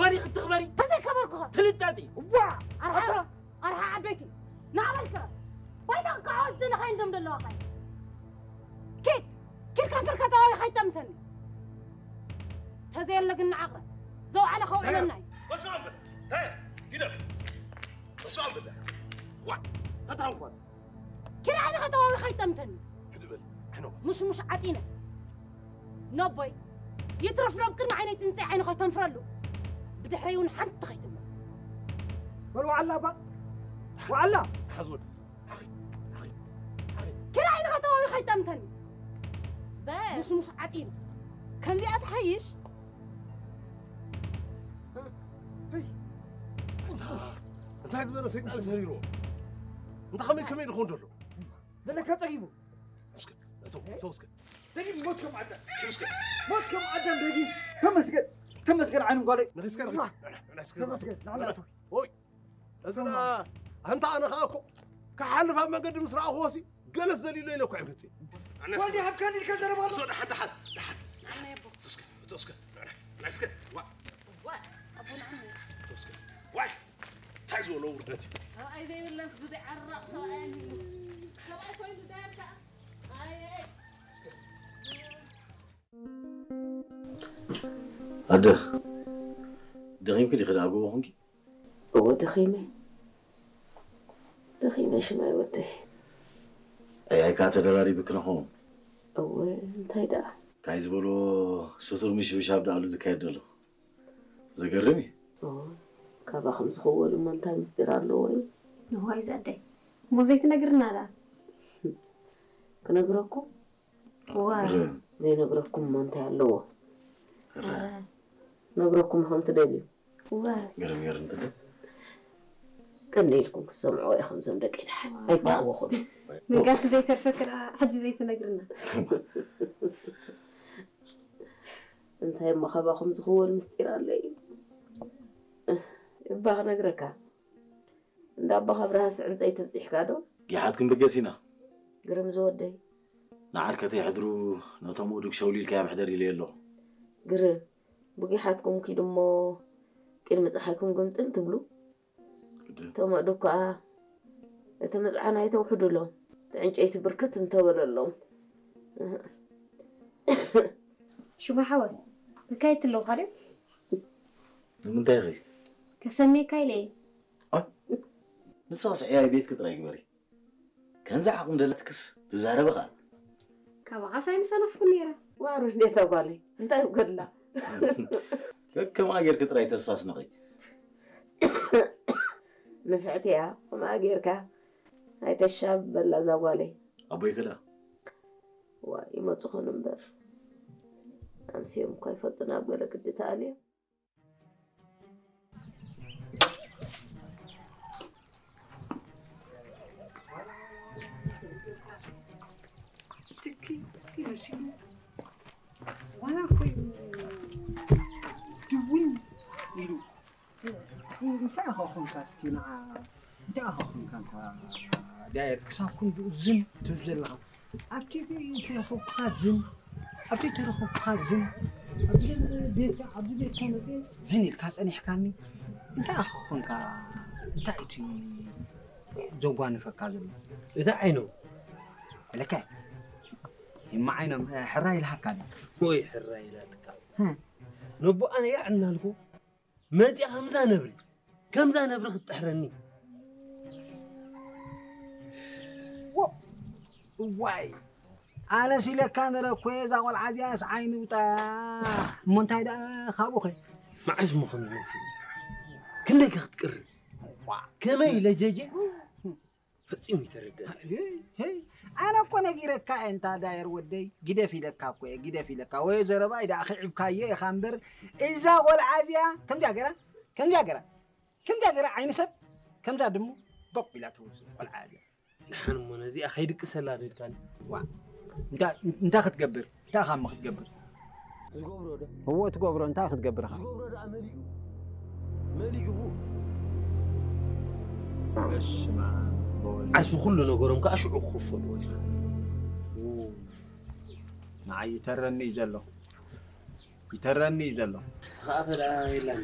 ባዲ ክትኽበሪ ተዘይከበርኩኸ? ፍልጣጢ። ዋ! ኣርሓ ኣርሓ ዓበይቲ ናበልከ ባይታ ክከዓወት ደለኻ እንደም ደለዋኻ። ኪድ ኪድ ከንፈርካ ጠዋዊ ከይጠምተኒ። ተዘየለ ግን ንዓቕረ ዘውዓለ ከውዕለና እዩ። በስመ ኣብ በል። ታይ? ግደፍ። በስመ ኣብ በል። ዋ! ተታንኳት። ኪድ ዓይንኻ ጠዋዊ ከይጠምተኒ። ሕድእ በል። ሕኖ። ሙሽሙሽ ዓጢነ። ነቦይ ይትረፍ ሎም ቅድሚ ዓይነይ ትንፀይ ዓይኑ ከይተንፍረሉ። ብድሕረይ እውን ሓንቲ ከይትምር። በል ዋዕላ እባ። ዋዕላ። ሓዝ ወድ። ሓኺ። ሓኺ። ሓኺ። ኪድ ዓይንኻ ጠዋዊ ከይጠምተኒ። በል። ሙሽሙሽ ዓጢነ። ከምዚኣ ትሓይሽ? እንታይ ዝበለ ሰይጣን ሰሪርዎ? እንታይ ከመይ ከመይ ድኾን ደሎ? ዘለካ ጸጊቡ። እስከ፣ እቶ፣ እቶ እስከ። ደጊም ሞት ከም ኣዳም። እስከ። ሞት ከም ኣዳም ደጊም። ተመስገን፣ ተመስገን ዓይኑ ጓለይ። ንኺስከ፣ ንኺ-፣ ንዕና፣ ንዕና እስከ። ተመስገን፣ ንዕና እቶ። ኦይ፣ እዚ ና-፣ ኣንታ ኣነ ኸኣ እኮ ክሓልፍ ኣብ መገዲ ምስ ረኣኹዎሲ ገለስ ዘሊሎ ኢለ እኮ እየ መጽእ። ንዕና እስከ። ወልዲ ሃብካኒ ኢልካ ዘረባ ኣሎ። እቶ ደሓን፣ ደሓን፣ ደሓን። ኣነ የቦ። እቶ እስከ፣ እቶ እስከ፣ ንዕና፣ ንዕና እስከ። ዋ። ዋ፣ ኣቦና ኣነ። እቶ እስከ። ዋይ፣ እንታይ ዝበሎ ውርደት እዩ? ሰብኣይ ዘይብለስ ብዘይ ዓራቕ ሰብኣይ ኣልዩ። ሰብኣይ ኮይኑ ዳርካ። ኣየ። ኣደ፣ ደኺምኪ ዲኺ ደኣ ጎቦ ኾንኪ? እወ፣ ደኺመ። ደኺመ ሽማይ ወደይ። ኣይ፣ ኣይ፣ ከኣ ተደራሪብኪ ንኸውን። እወ፣ እንታይ ደኣ? እንታይ ዝበሎ ስቱር ምሽብሻብ ደኣሉ ዝካየድ ዘሎ? ዘገርም እዩ። ኦ፣ ካባኹም ዝኽወል እሞ እንታይ ምስጢር ኣለዎ እዩ? ንዋይ ዘደይ፣ እሞ ዘይትነግርና ደኣ? ክነግረኩም? ዋ። ረ። ዘይነግረኩም እሞ እንታይ ኣለዎ? ረ። ነግረኩም ከም ትደልዩ። ዋ። ገረም ገረም ትብል። ቀሊልኩም ክትሰምዕዎ ኢኹም፣ እዞም ደቂ ደሓን። ዋ። ኣይተሃወኹም። ምንጋርኪ ዘይተርፈኪ ደኣ ሕጂ ዘይትነግርና? እንታይ እሞ ካባኹም ዝኽወል ምስጢር ኣሎ እዩ? እባ ክነግረካ። እንዳ ኣቦኻ ብርሃስ ዕንጸይቲ ኣብጺሕካ ዶ? ጊሓት ክንብገስ ኢና። ግርም ዝወደይ። ንዓርከተይ ሕድሩ ነቶም እዱግ ሸውሊልካዮም ሕደር ኢለዮ ኣለኹ። ግርም፣ ብጊሓትኩም ኪዱ እሞ ቅድሚ ጸሓይኩም ግምጥል ትብሉ። ግድን። እቶም ኣእዱግ ከኣ እቲ ምጽዓን ኣይተውሕዱሎም። እቲ ዕንጨይቲ ብርክት እንተበለሎም። ሽማ ሓወይ፣ ተካየድቲ ኣለውኻ ድዮም? ንምንታይ ኢኺ? ከሰንየካ ኢለ እየ። ኣ? ንስኺ ስዕያይ ቤትኪ ጥራይ ግበሪ። ከምዚ ዓቕሚ ደለትክስ ትዛረቢ ኸኣ። ካባኻስ ኣይምሰነፍኩን ነይረ። ዋሩ እንዴት ጓለይ፣ እንታይ ይጎድላ? ከከምኣ ጌርኪ ጥራይ ተስፋ ኣስነቒ። ንፍዕቲ እያ፣ ከምኣ ጌርካ ኣይተሻብበላ እዛ ጓለይ። ኣቦይ ከ ደኣ? ዋ፣ ይመጹ ኾኑ እምበር፣ ኣምስዮም እኳ ይፈልጡና ኣብ ገለ ግዲ ተኣልዮም። እዚ ገዛሲ ትኪ መሲሉ ዋላ ኮይኑ ድውን ኢሉ። እንታይ ኢኻ ኾንካ እስኪ ንዓ? እንታይ ኢኻ ኾንካ እንታ ዳየር ክሳብ ክንድኡ ዝን ትብል ዘለኻ? ኣብ ቲቪ እንተረኸብኩኻ ዝን፣ ኣብ ዘይተረኸብኩኻ ዝን፣ ኣብዚ ቤትካ፣ ኣብዚ ቤትካ መፅየ ዝን ኢልካ ፀኒሕካኒ። እንታይ ኢኻ ኾንካ? እንታይ እቲ ዘጓንፈካ ዘሎ? እታ ዓይኖም። ለካ፣ ይማ ዓይኖም፣ ሕራይ ኢልሃካ ኣሎ። ወይ ሕራይ ኢላትካ። ህም። ነቦ ኣነ ያዕ እናልኩ መፂኣ ከምዛ ነብሪ፣ ከምዛ ነብሪ ክትጥሕረኒ። ዎ፣ እዋይ፣ ኣነስ ኢለካ ነረ እኮ እየ፣ እዛ ቆልዓ እዚኣስ ዓይኒ ውጣ። እሞ እንታይ ደኣ ካብኡ ኸ? መዓስ እሞ ከምዚ መሲሉ? ክንደይ ከ ክትቅርብ? ዋ። ከመይ ኢለ ጀጀ? ፈጺሙ ይተረድእ። ሄይ፣ ሄይ፣ ኣነ እኮ ነጊረካ እየ፣ እንታ ዳየር ወደይ፣ ግደፍ ኢለካ እኮ እየ፣ ግደፍ ኢለካ። ወይ ዘረባይ ደኣ ክዕብካዮ ኢኻ እምበር፣ እዛ ቆልዓ እዚኣ ከምዚኣ ገራ፣ ከምዚኣ ገራ፣ ከምዚኣ ገራ ዓይኒ ሰብ፣ ከምዛ ድሙ ቦቕ ኢላ ትውስድ ቆልዓ እያ። ደሓን እሞ ነዚኣ ከይድቅሰላ ዶ ኢልካኒ? ዋ፣ እንታ-፣ እንታይ ክትገብር? እንታይ ኢኻ እሞ ክትገብር? ዝገብሮ ዶ? እዎ፣ ትገብሮ፣ እንታይ ክትገብር ኢኻ? ዝገብሮ ደኣ መሊኡ፣ መሊኡ። በስመ ኣብ ወወልድ። ዓስቢ ኩሉ ነገሮም ከኣ ሽዑ ክኽፈሉ ኢኻ። ንዓይ ይተረኒ እዩ ዘሎ። ይተረኒ እዩ ዘሎ። ዝኸኣፈ ደኣ የላን።